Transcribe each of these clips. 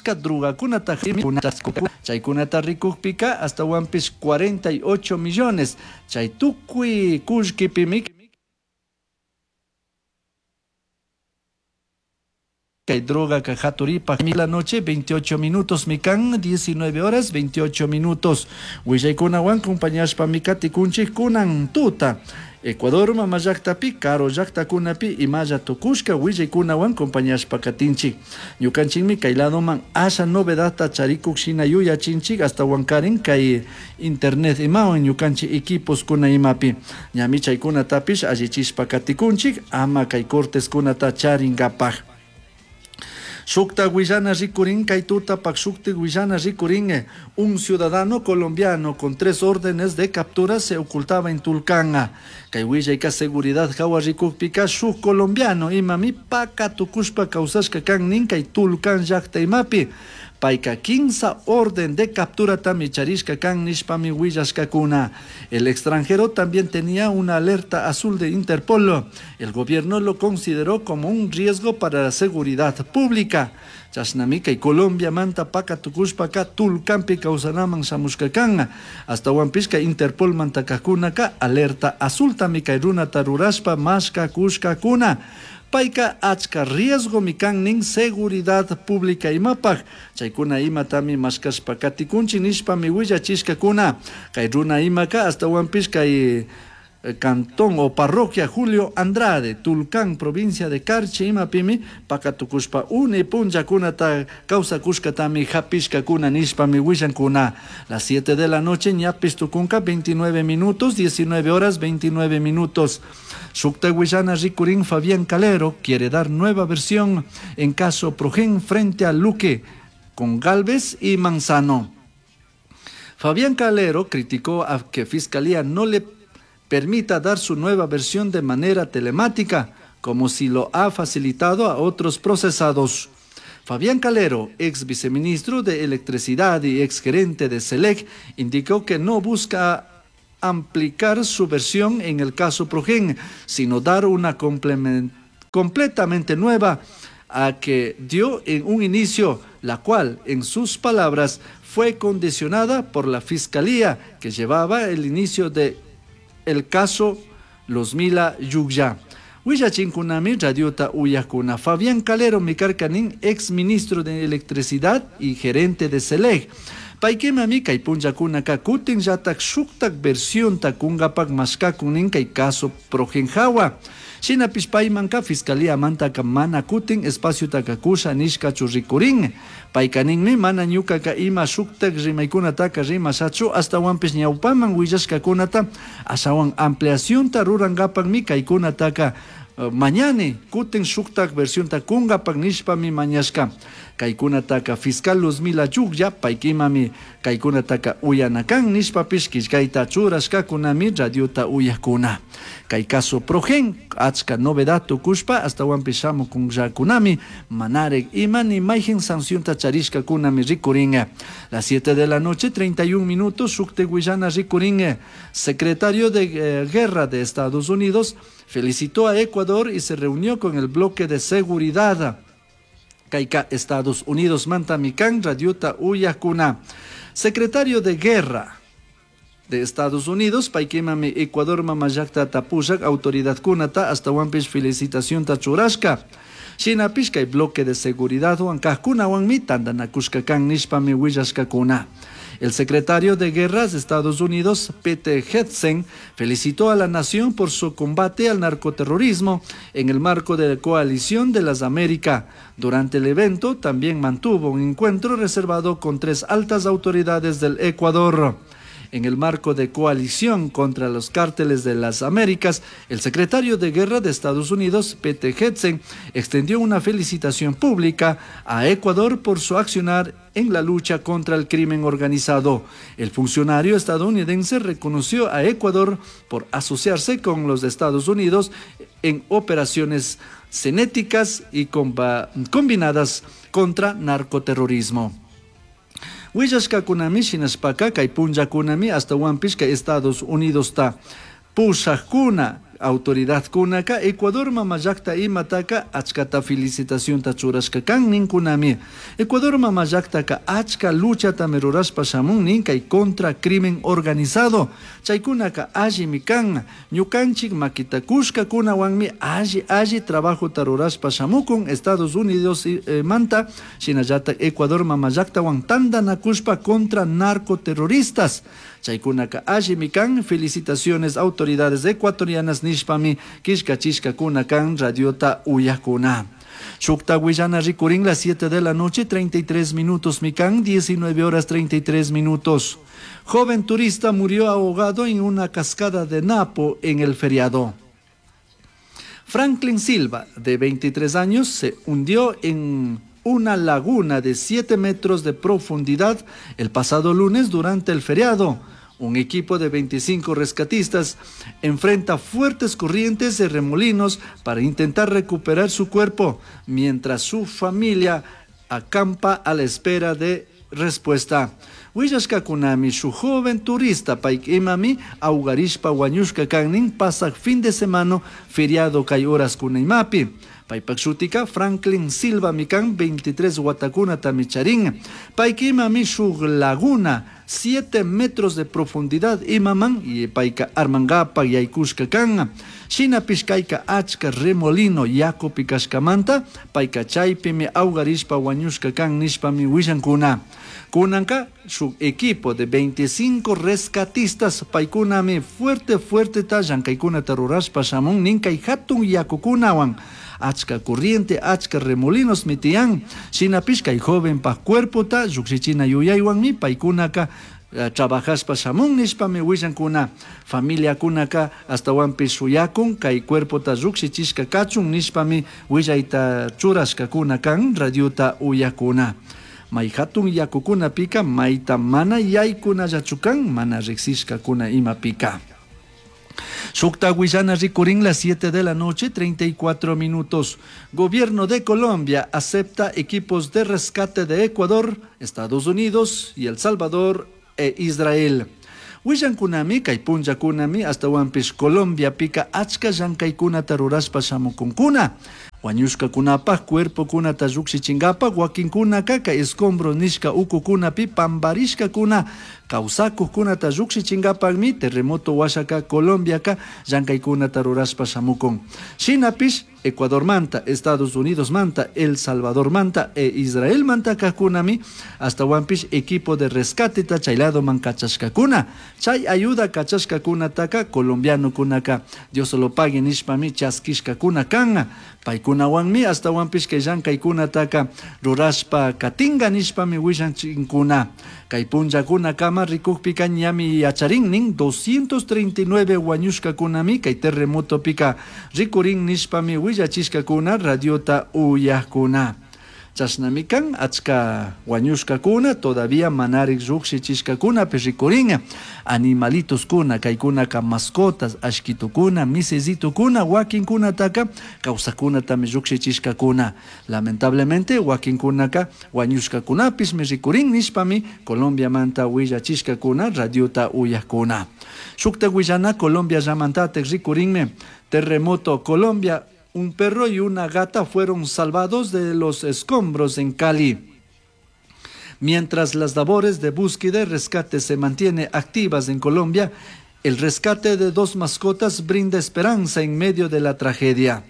Achca drogacunata chaykunata rikukpika astawanpish 48 millones chay tukuy kullkipimi kay drogaka haturipaj. La noche 28 minutos mikan, 19 horas 28 minutos. Willaykunawan compañashpami katikunchik kunan tuta. Ecuador mama llaktapi, karu llaktakunapi imalla tukushka willaykunawan compañashpa katinchik. Ñukanchikmi kay ladoman asha novedadta charikuk shina yuyachinchik astawankarin kay internet imawan ñukanchik equiposkuna imapi. Ñami chaykunatapish allichishpa katikunchik ama kay corteskunata charinkapak. Shukta willana rikurin kay tutapak shukti willana rikurin un ciudadano colombiano con 3 órdenes de captura se ocultaba en Tulcán. Kay willayka seguridad hawa rikukpika shuk colombiano imami paka tukushpa kawsashka kan nin kay Tulcán llakta imapi. Payka 15 orden de captura tami charishka kan nishpami willashkakuna. El extranjero también tenía una alerta azul de Interpol. El gobierno lo consideró como un riesgo para la seguridad pública. Chashnami kay Colombia manta paka tukushpaka Tulcánpi kawsanaman shamushkakan. Astawanpish kay Interpol manta kajkunaka alerta azul tami kay runata rurashpa mashkakushkakuna. Payka achka riesgo mikan nin seguridad pública imapaj. Chaykuna imatami mashkashpa katikunchik nishpami willachishkakuna. Kay runa imaka astawanpish kay cantón o parroquia Julio Andrade, Tulcán, provincia de Carchi, imapimi pakatukushpa une punllakunata kawsakushkatami hapishkakuna nishpami willankuna. Las 7 de la noche ñapis tukunka 29 minutos, 19 horas 29 minutos. Shukta willana rikurin Fabián Calero quiere dar nueva versión en caso Progen frente a Luque con Galvez y Manzano. Fabián Calero criticó a que Fiscalía no le permita dar su nueva versión de manera telemática, como si lo ha facilitado a otros procesados. Fabián Calero, ex viceministro de Electricidad y ex gerente de SELEC, indicó que no busca ampliar su versión en el caso Progen, sino dar una completamente nueva a que dio en un inicio, la cual, en sus palabras, fue condicionada por la fiscalía que llevaba el inicio de el caso Los Mila Yugya. Willachinkunami radiota uyakuna. Fabián Calero mikarkanin, ex ministro de Electricidad y gerente de SELEC. Paykimami kay punllakunaka kutin llatak shuktak versionta kungapak mashkakunin kay caso Progenjawa. Shinapish paymanka fiscalía mantaka mana kutin espaciotaka kusha nishkachu rikurin. Paykaninmi mana ñukaka ima shuktak rimaykunataka rimashachu astawanpish ñawpaman willashkakunata ashawan ampliacionta rurankapakmi kaykunataka mañani kutin shuktak versionta kungapak nishpami mañashka. Kaykunataka fiscal Luzmila Yugya paykimami kaykunataka uyanakan nishpapish killkayta churashkakunami radiota uyakuna. Kay caso Progen achka novedad tukushpa astawanpish shamukunllakunami manarek ima ni mayhen sancionta charishkakunami rikurin. Las 7 de la noche 31 minutos shukte willana rikurin. Secretario de Guerra de Estados Unidos felicitó a Ecuador y se reunió con el bloque de seguridad. Kaika Estados Unidos mantamikan radiota uyakuna. Secretario de Guerra de Estados Unidos, paykimami Ecuador mamallakta tapushak autoridad kunata astawanpish felicitación tachurashka. Shinapish kay bloque de seguridad huankajkunawanmi tantanakushka kan nishpami willashkakuna. El secretario de Guerra de Estados Unidos, Pete Hegseth, felicitó a la nación por su combate al narcoterrorismo en el marco de la Coalición de las Américas. Durante el evento también mantuvo un encuentro reservado con 3 altas autoridades del Ecuador. En el marco de coalición contra los cárteles de las Américas, el secretario de Guerra de Estados Unidos, Pete Hegseth, extendió una felicitación pública a Ecuador por su accionar en la lucha contra el crimen organizado. El funcionario estadounidense reconoció a Ecuador por asociarse con los Estados Unidos en operaciones cinéticas y combinadas contra narcoterrorismo. Willashkakunami shinashpaka kay punllakunami astawanpish kay Estados Unidos ta pushakuna Autoridadkunaka Ecuador mama llakta imataka achkata felicitacionta churashka kan ninkunami. Ecuador mama llaktaka achka luchatami rurashpa shamun nin kay contra crimen organizado. Chaykunaka allimi kan. Ñukanchik makita kushkakunawanmi alli alli trabajota rurashpa shamukun Estados Unidos manta shinallatak Ecuador mama llaktawan tantanakushpa contra narcoterroristas. Chaykunaka allimi kan. Felicitaciones autoridades ecuatorianas nishpami killkachishkakuna kan radiota uyakuna. Shukta willana rikurin las 7 de la noche, 33 minutos mikan, 19 horas 33 minutos. Joven turista murió ahogado en una cascada de Napo en el feriado. Franklin Silva, de 23 años, se hundió en una laguna de 7 metros de profundidad el pasado lunes durante el feriado. Un equipo de 25 rescatistas enfrenta fuertes corrientes de remolinos para intentar recuperar su cuerpo, mientras su familia acampa a la espera de respuesta. Willashkakunami shu joven turista payka imami awgarishpa wañushka kannin pasaq fin de semana feriado kay horas imapi. Paypak shutika Franklin Silva mikan 23 watakunatami charin. Payka imami shuk laguna 7 metros de profundidad imaman y payka armangapak yaykushka kan. Shinapish kayka achka remolino yakupi kashkamanta payka chaypimi awgarishpa wañushka kan nishpami willankuna. Kunanka su equipo de 25 rescatistas paykunami fuerte fuerte ta llankaykunata rurashpa shamun nin kay hatun yakukunawan. Achka corriente, achka remolinos mitiyan. Shinapish kay jovenpak cuerpota llukshichina yuyaywanmi paykunaka trabajashpa shamun nishpami willankuna. Familiakunaka astawanpish shuyakun kay cuerpota llukshichishka kachun nishpami willayta churashkakuna kan radiota uyakuna. May hatun yakukunapika mayta mana yaykunallachu kan mana riksishkakuna imapika. Shukta willana rikurin las 7 de la noche, 34 minutos. Gobierno de Colombia acepta equipos de rescate de Ecuador, Estados Unidos y El Salvador e Israel. Willankunami kay punllakunami astawanpish Colombia pika achka llankaykunata rurashpa shamukunkuna. Wañushkakunapaj cuerpokunata llukshichinkapa wakinkunaka kay escombro nishka ukukunapi pambarishkakuna kawsakuqkunata llukshichinkapakmi terremoto washaka Colombiaka llankaykunata rurashpa shamukun. Shinapish Ecuador manta, Estados Unidos manta, El Salvador manta e Israel manta kaqkunami astawanpish equipo de rescate ta chayladoman kachashkakuna. Chay ayuda kachashkakunataka colombianokunaka Dios lo pague nishpami chaskishkakuna kan. Paykunawanmi astawanpish kay llankaykunataka rurashpa katinga nishpami willanchinkuna. Kay punllakunakama rikukpika ñami yacharin nin 239 wañushkakunami kay terremotopika rikurin nishpami willachishkakuna radiota uyakuna. Chashnami kan achka wañushkakuna todavía manarik llukshichishkakunapish rikurin. Animalitoskuna kaykunaka mascotas ashkitukuna misisitukuna wakinkunataka kawsakunatami llukshichishkakuna. Lamentablemente wakinkunaka wañushkakunapishmi rikurin nishpami Colombiamanta willachishkakuna radiota uyakuna. Shukta willana Colombia llamantatik rikurinmi terremoto Colombia. Un perro y una gata fueron salvados de los escombros en Cali. Mientras las labores de búsqueda y rescate se mantienen activas en Colombia, el rescate de dos mascotas brinda esperanza en medio de la tragedia.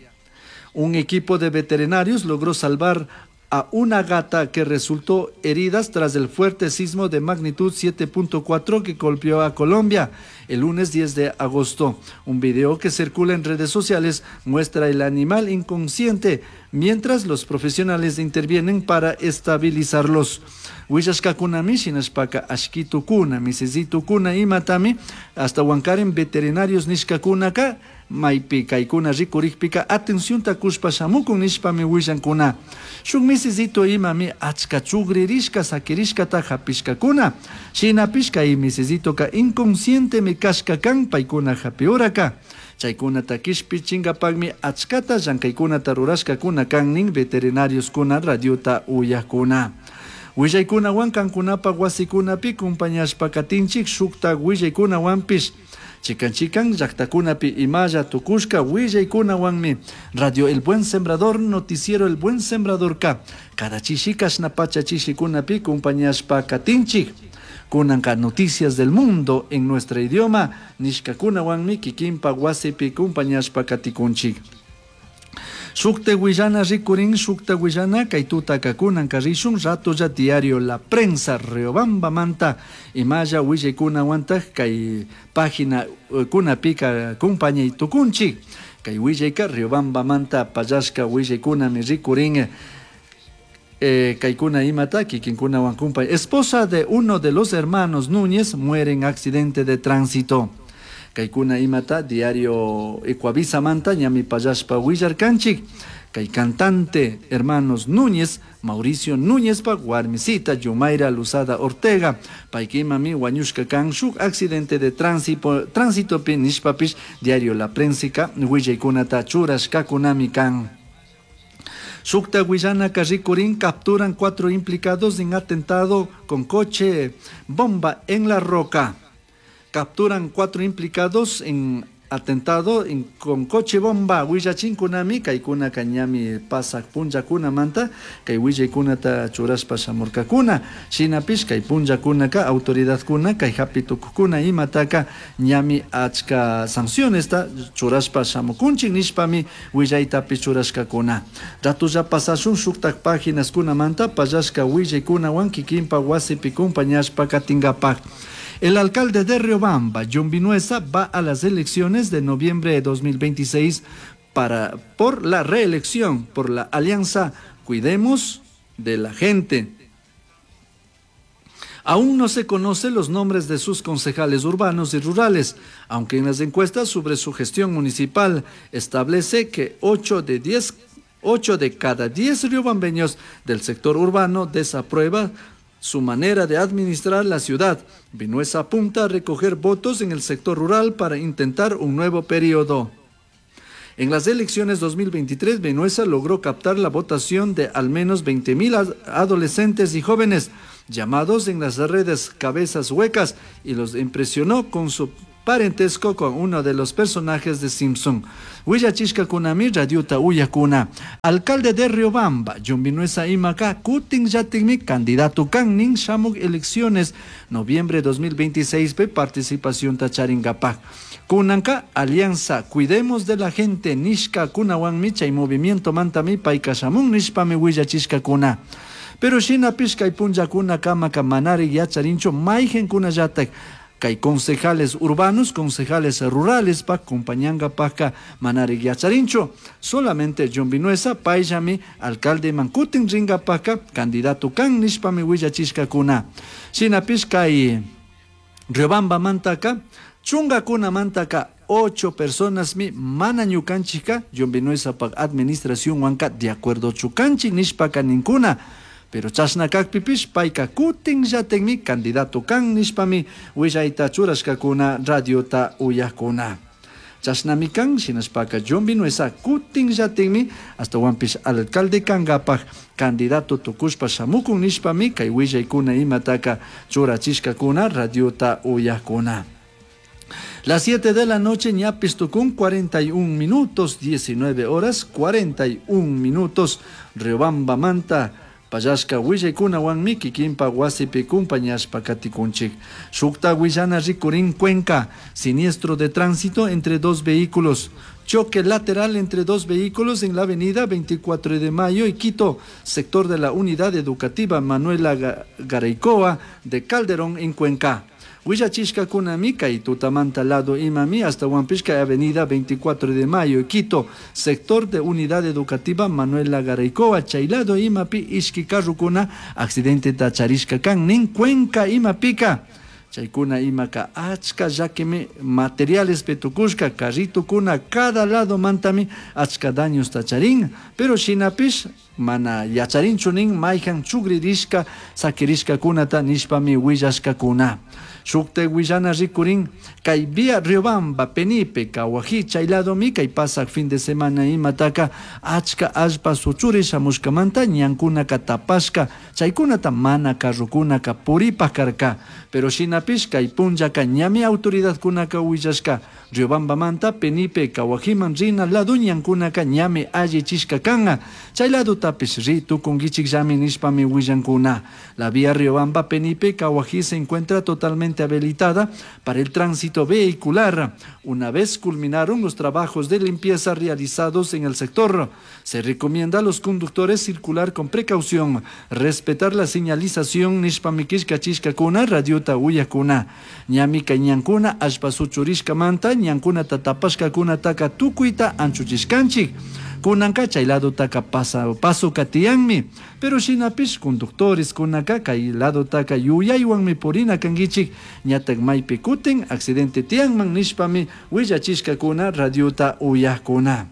Un equipo de veterinarios logró salvar a una gata que resultó heridas tras el fuerte sismo de magnitud 7.4 que golpeó a Colombia el lunes 10 de agosto. Un video que circula en redes sociales muestra el animal inconsciente mientras los profesionales intervienen para estabilizarlos. Willashkakunami shinashpaka ashkitukuna, misisitukuna imatami hasta wankarin veterinarios nishkakunaka maypi kaykuna rikurikpika atencionta kushpa shamukun nishpami willankuna. Shuk misisito imami achka chugririshka sakirishkata hapishkakuna. Shinapish kay misisitoka inconscientemi kashka kan paykuna hapiuraka. Chaykunata kishpichinkapakmi achkata llankaykunata rurashkakuna kan nin veterinarios-kuna radiota uyakuna. Willaykunawan kankunapak wasikunapi kumpañashpa katinchik shukta willaykunawanpish. Chikan chikan llaqtakunapi imalla tukushka willaykunawanmi Radio El Buen Sembrador, Noticiero El Buen Sembradorka cada chishi kashna pacha chishikunapi compañashpa katinchik. Kunanka Noticias del Mundo en nuestro idioma nishkakunawanmi kikinpa wasipi compañashpa katikunchik. Shukta willana rikurin, shukta willana kay tutaka kunanka rishun ratolla diario La Prensa Riobamba manta imalla willaykunawantaj kay página kunapika kumpañay tukunchik. Kay willayka Riobamba manta pallashka willaykunami rikurin. Kaykuna imata kikinkunawan kumpay. Esposa de uno de los hermanos Núñez muere en accidente de tránsito. Kaykuna imata diario Ecuavisa manta ñami pallashpa willarkanchik. Kay cantante hermanos Núñez, Mauricio Núñez pa warmisita Yumaira Luzada Ortega, paykimami wañushka kan shuk accidente de tránsito pi nishpapish diario La Prensica willaykunata churashkakunami kan. Shukta willana rikurin capturan 4 implicados en atentado con coche bomba en La Roca. Capturan 4 implicados en atentado con coche bomba. Willachinkunami kaykuna kañami pasak punllakunamanta kay willaykunata churashpa shamurkakuna. Shinapish kay punllakunaka autoridadkuna kay hapi tukukuna imataka ñami achka sancionesta churashpa shamukunchik nishpami willaytapish churashkakuna. Ratulla pasashun shuktak paginaskunamanta pallashka willaykunawan kikinpa wasipi kumpañashpa katinkapak. El alcalde de Riobamba, John Vinuesa, va a las elecciones de noviembre de 2026 por la reelección, por la alianza Cuidemos de la Gente. Aún no se conocen los nombres de sus concejales urbanos y rurales, aunque en las encuestas sobre su gestión municipal establece que 8 de 10, 8 de cada 10 riobambeños del sector urbano desaprueba su manera de administrar la ciudad. Vinuesa apunta a recoger votos en el sector rural para intentar un nuevo periodo. En las elecciones 2023, Vinuesa logró captar la votación de al menos 20.000 adolescentes y jóvenes llamados en las redes cabezas huecas y los impresionó con su parentesco con uno de los personajes de Simpson. Willachishka kunami radiota uyakuna. Alcalde de Riobamba, John Vinuesa imaka, kutin yatikmi candidato kan nin shamuk elecciones noviembre 2026 pe participación tacharingapak. Kunanka alianza Cuidemos de la Gente nishka kunawan chay movimiento mantami payka shamun nishpami willachishka kuna. Pero shinapish kay punllakuna kamaka manari yacharinchu mayjen kunallatak kay concejales urbanos, concejales rurales pa compañanga paka manari yacharinchu. Solamente John Vinuesa, payllami, alcalde mankutin ringa paka, candidato kan nishpami willachishka kuna. Shinapish kay Riobamba mantaka, chunga kuna mantaka, 8 personas mi mana ñukanchika, John Vinuesa pa administración wanka de acuerdo chukanchik nishpaka ninkuna. Pero chashna kakpipish payka kutin llatikmi candidato kan nishpami willayta churashkakuna radiota uyakuna. Chashnami kan shinashpaka John Vinuesa kutin llatikmi hasta alcalde kangapak candidato tukushpa shamukun nishpami kay willaykuna imataka churachishkakuna radiota uyakuna. Las 7 de la noche, ñapis tukun, 41 minutos, 19 horas, 41 minutos, Riobamba manta, pallashka willaykunawanmi kikinpa wasipi kumpañashpa katikunchik. Shukta willana rikurin Cuenca, siniestro de tránsito entre 2 vehículos. Choque lateral entre 2 vehículos en la avenida 24 de Mayo y Quito, sector de la unidad educativa Manuela Garaycoa de Calderón en Cuenca. Willachishka kunami kay tutamanta lado imami hasta Huampishka avenida 24 de Mayo y Quito, sector de unidad educativa Manuela Garaycoa, chaylado imapi ishki karrukuna, accidente tacharishka kan nin Cuenca imapika. Chaykuna imaka achka llakimi materiales petukushka carritukuna cada lado mantami achka daños tacharin, pero shinapish mana yacharinchu nin mayhan chugririshka sakirishka kunata nishpami willashkakuna. Shukte willana rikurin kay vía Riobamba, Penipe, Cahuají, chayladomi kay pasak fin de semana imataka achka allpa suchuri shamushkamanta ñankunaka tapashka Chaykunata mana carrokunaka puripaj karka. Pero shinapish kay punllaka ñami autoridadkunaka willashka Riobambamanta Penipe Cahuajiman rina lado ñankunaka ñami allichishka kan. Chay ladotapish ri tukunkichikllami nishpami willankuna. La vía Riobamba Penipe Cahuají se encuentra totalmente habilitada para el tránsito vehicular. Una vez culminaron los trabajos de limpieza realizados en el sector, se recomienda a los conductores circular con precaución, respetar la señalización nishpami killkachishkakuna radiota uyakuna. Ñami kay ñankuna allpa suchurishkamanta ñankunata tapashkakunataka tukuyta anchuchishkanchik. Kunanka chay ladotaka pasoka tiyanmi. Pero shinapish conductores kunaka kay ladotaka yuyaywanmi purina kankichik, ñatak maypi kutin accidente tiyanman nishpami willachishkakuna radiota uyakuna.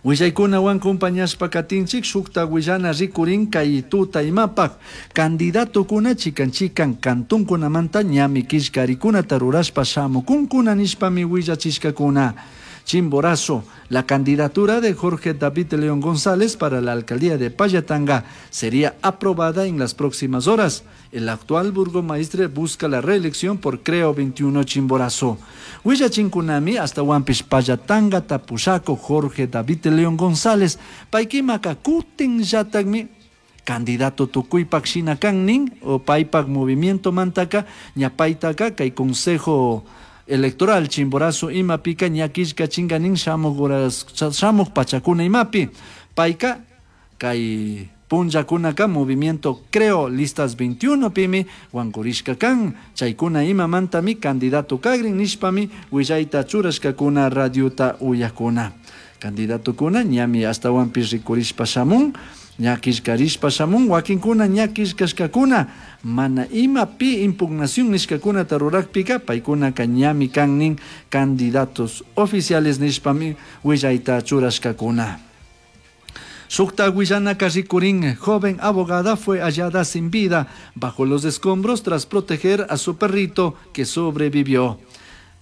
Willaykunawan compañashpa katinchik shukta willana rikurin kay tuta imapak candidatokuna chikan chikan kantunkunamanta ñami killkarikunata rurashpa shamukunkuna nishpami willachishkakuna. Chimborazo, la candidatura de Jorge David León González para la alcaldía de Pallatanga sería aprobada en las próximas horas. El actual burgomaestre busca la reelección por Creo 21 Chimborazo. Willachinkunami hasta Huampish Pallatanga Tapusaco Jorge David León González paykimaka kutin llatakmi candidato tukuypak shina kan nin o paypak movimiento mantaka ñapaytaka kay consejo electoral Chimborazo imapika ñakishka chinganin shamuj horas shamuj pachakuna imapi payka kay punllakunaka movimiento Creo listas 21 pimi wankurishka kan chaykuna imamantami candidato kagrin nishpami willayta churashkakuna radiota uyakuna candidatokuna ñami ashtawanpish rikurishpa shamun ña killkarishpa shamun wakinkuna ña killkashkakuna mana ima pi impugnación nishkakunata rurakpika paykunaka ñami kan nin candidatos oficiales nishpami willayta churashkakuna. Shukta willanaka rikurin, joven abogada fue hallada sin vida bajo los escombros tras proteger a su perrito que sobrevivió.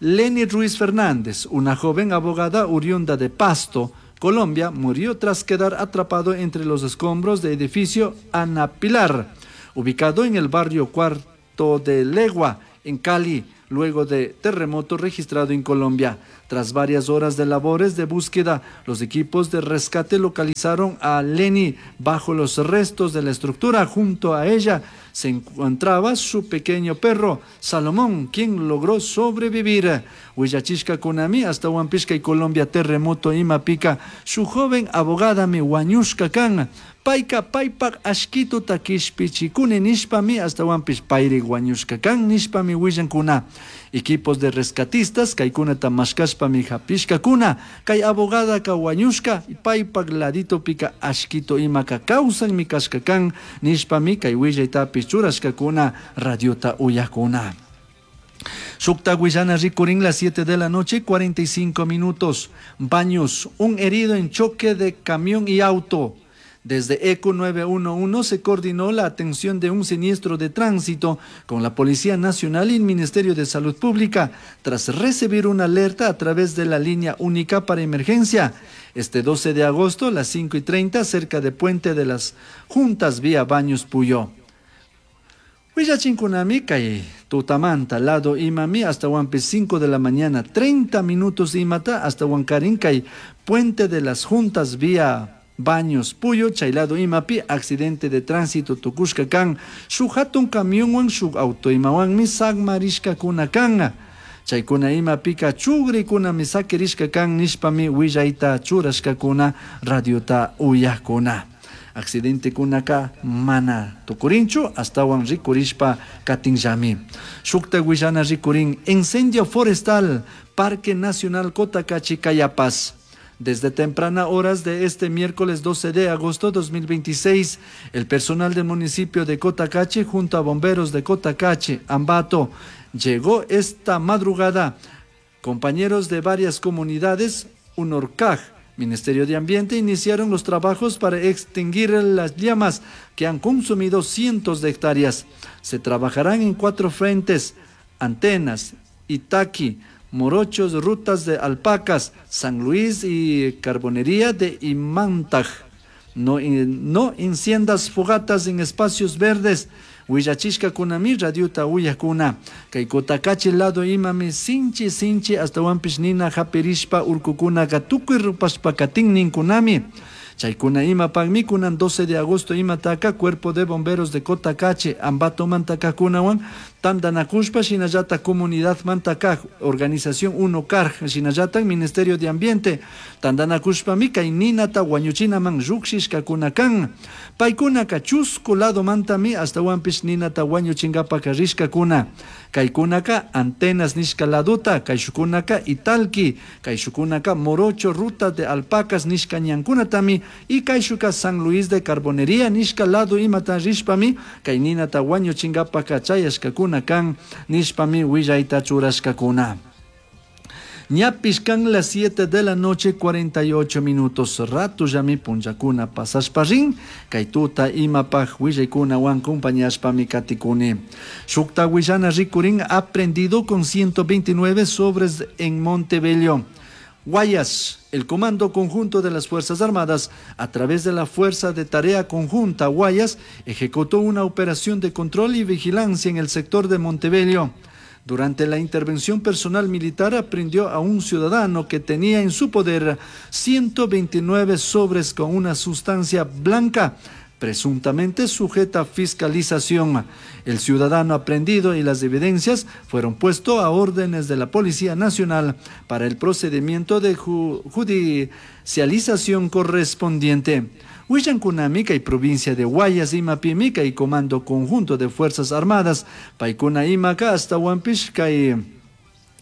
Lenny Ruiz Fernández, una joven abogada oriunda de Pasto, Colombia, murió tras quedar atrapado entre los escombros del edificio Ana Pilar, ubicado en el barrio Cuarto de Legua, en Cali, luego de terremoto registrado en Colombia. Tras varias horas de labores de búsqueda, los equipos de rescate localizaron a Lenny bajo los restos de la estructura. Junto a ella se encontraba su pequeño perro, Salomón, quien logró sobrevivir. Willachishka kunami hasta Huampishka y Colombia terremoto imapica. Su joven abogada mi huañushka kan. Payka paypak ashkituta kishpichikuni nishpami hasta Huampish payri huañushka kan nishpami willankuna. Equipos de rescatistas kaykunata mashkashpami hapishkakuna. Kay abogada ka huañushka paypak laditopika ashkito imaka kawsanmi kashka kan nishpami kay willaytapish churashkakuna radiota uyakuna. Shukta willana rikurin las 7 de la noche, 45 minutos. Baños, un herido en choque de camión y auto. Desde ECO 911 se coordinó la atención de un siniestro de tránsito con la Policía Nacional y el Ministerio de Salud Pública tras recibir una alerta a través de la línea única para emergencia. Este 12 de agosto a las 5:30 cerca de Puente de las Juntas vía Baños Puyo. Willachinkunami kay tutamanta lado imami hasta Huampe 5 de la mañana 30 minutos imata hasta Huancarín kay Puente de las Juntas vía Baños Puyo, chaylado imapi, accidente de tránsito tukushka kan, shuk hatun camionwan shuk auto imawanmi sagmarishka kuna kan. Chaykuna imapika chugrikuna sakirishka kan nishpami willayta churashkakuna radiota uyakuna. Accidente kunaka mana tukurinchu astawan rikurishpa katinllami. Shukta willana rikurin incendio forestal Parque Nacional Cotacachi Cayapas. Desde temprana horas de este miércoles 12 de agosto 2026, el personal del municipio de Cotacachi junto a bomberos de Cotacachi, Ambato, llegó esta madrugada. Compañeros de varias comunidades, Unorcaj, Ministerio de Ambiente, iniciaron los trabajos para extinguir las llamas que han consumido cientos de hectáreas. Se trabajarán en 4 frentes: Antenas, Itaqui, Morochos, rutas de alpacas, San Luis y Carbonería de Imantaj. No, no enciendas fogatas en espacios verdes. Willachishkakunami radiota uyakuna. Kay Cotacachi lado imami sinchi sinchi astawanpish nina hapirishpa urkukunaka tukuy rupashpa katin ninkunami. Chaykuna imapakmi kunan 12 de agosto imataka Cuerpo de Bomberos de Cotacachi Ambatomanta kajkunawan tantanakushpa shinallatak comunidadmanta kaj Organización 1 Carj shinallatak Ministerio de Ambiente tantanakushpami kay ninata wañuchinaman llukshishkakuna kan. Paykunaka chusku ladomantami astawanpish ninata wañuchinkapak rishkakuna. Kaykunaka Antenas nishka ladota, kayshukunaka Italki, kayshukunaka Morocho Ruta de Alpacas nishka ñankunatami y kayshuka San Luis de Carbonería nishka lado imata rishpami kay ninata wañuchinkapaka chayashkakuna kan nishpami willayta churashkakuna. Ñapish kan las 7 de la noche 48 minutos. Rato yami punllakuna pasashpa rin. Kay tuta imapaj willaykunawan compañashpami katikuni. Shukta willana rikurin aprendido con 129 sobres en Montebello. Guayas, el Comando Conjunto de las Fuerzas Armadas, a través de la Fuerza de Tarea Conjunta Guayas, ejecutó una operación de control y vigilancia en el sector de Montebello. Durante la intervención personal militar aprendió a un ciudadano que tenía en su poder 129 sobres con una sustancia blanca, presuntamente sujeta a fiscalización. El ciudadano aprendido y las evidencias fueron puestos a órdenes de la Policía Nacional para el procedimiento de judicialización correspondiente. Willankunami kay provincia de Guayas imapimi kay Comando Conjunto de Fuerzas Armadas paykuna imaka astawanpish kay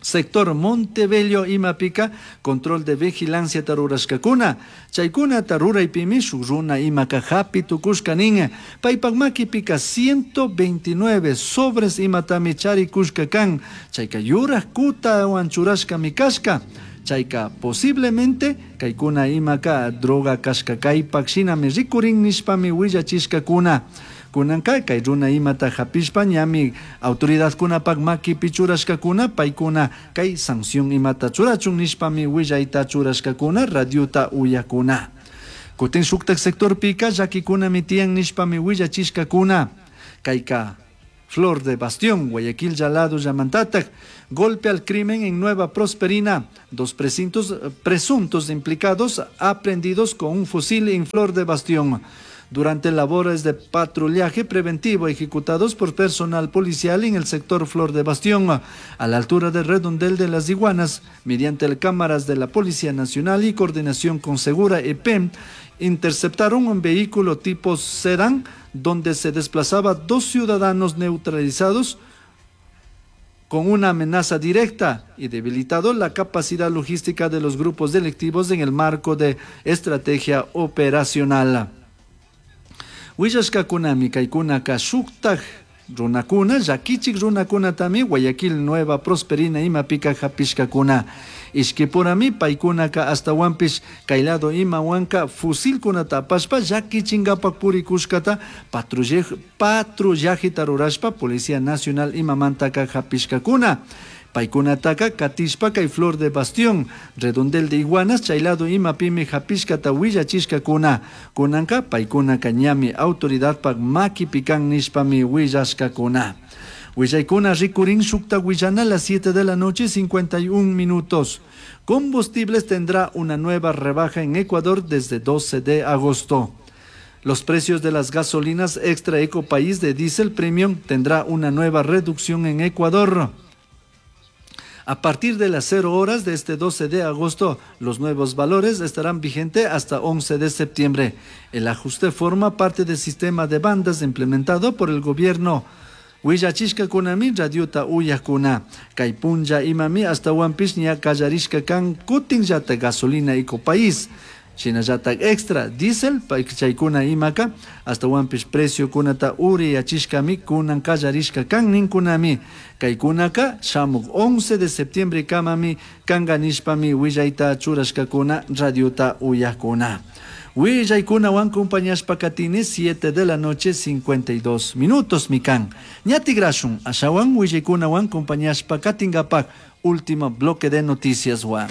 sector Montebello imapika control de vigilancia tarurashkakuna chaykuna taruraypimi shuk runa imaka hapi tukushka nin paypak makipika 129 sobres imatami charikushka kan chayka yurak kutawan churashkami kashka chayka posiblemente kaykuna imaka droga kashka kaypak shinami rikurin nishpami willachishkakuna. Kunanka kay runa imata hapishpa ñami autoridadkunapak makipi churashkakuna paykuna kay sanción imata churachun nishpami willayta churashkakuna radiota uyakuna. Kutin shuktak sectorpika llakikunami tiyan nishpami willachishkakuna. Kayka Flor de Bastión, Guayaquil Yalado Yamantatak, golpe al crimen en Nueva Prosperina, dos presuntos implicados aprendidos con un fusil en Flor de Bastión. Durante labores de patrullaje preventivo ejecutados por personal policial en el sector Flor de Bastión, a la altura del redondel de las Iguanas, mediante cámaras de la Policía Nacional y coordinación con Segura EP, interceptaron un vehículo tipo sedán donde se desplazaba dos ciudadanos neutralizados con una amenaza directa y debilitado la capacidad logística de los grupos delictivos en el marco de estrategia operacional. Willashkakunami kaykunaka shuktak runakuna, llakichik runakunatami Guayaquil Nueva Prosperina imapika hapishkakuna. Ishkipurami paykunaka astawanpish kay lado imawanka fusilkunata apashpa llakichinkapak purikushkata patrullajeta rurashpa Policía Nacional imamantaka hapishkakuna. Paykunataka katishpa kay Flor de Bastión, redondel de Iguanas, chaylado imapimi hapishkata willachishkakuna. Kunanka paykunaka ñami autoridadpak makipikan nishpami willashkakuna. Willaykuna rikurin shukta willana a las 7 de la noche 51 minutos. Combustibles tendrá una nueva rebaja en Ecuador desde 12 de agosto. Los precios de las gasolinas extra eco país de diésel premium tendrá una nueva reducción en Ecuador. A partir de las 0 horas de este 12 de agosto, los nuevos valores estarán vigentes hasta 11 de septiembre. El ajuste forma parte del sistema de bandas implementado por el gobierno. Willachishkakunami radiota uyakuna. Kay punlla imami astawanpish ña kallarishka kan kutinllata gasolina eco país. Shinallata extra diesel chaykuna imaka astawanpish preciokunata uriyachishkami kunan kallarishka kan ninkunami. Kaykunaka shamuk 11 de septiembre kamami kanka nishpami willayta churashkakuna radiota uyakuna. Willaykunawan compañashpa katini 7 de la noche 52 minutos mikan. Ñatigrashun ashawan willaykunawan compañashpa katinkapak último bloque de noticias wa.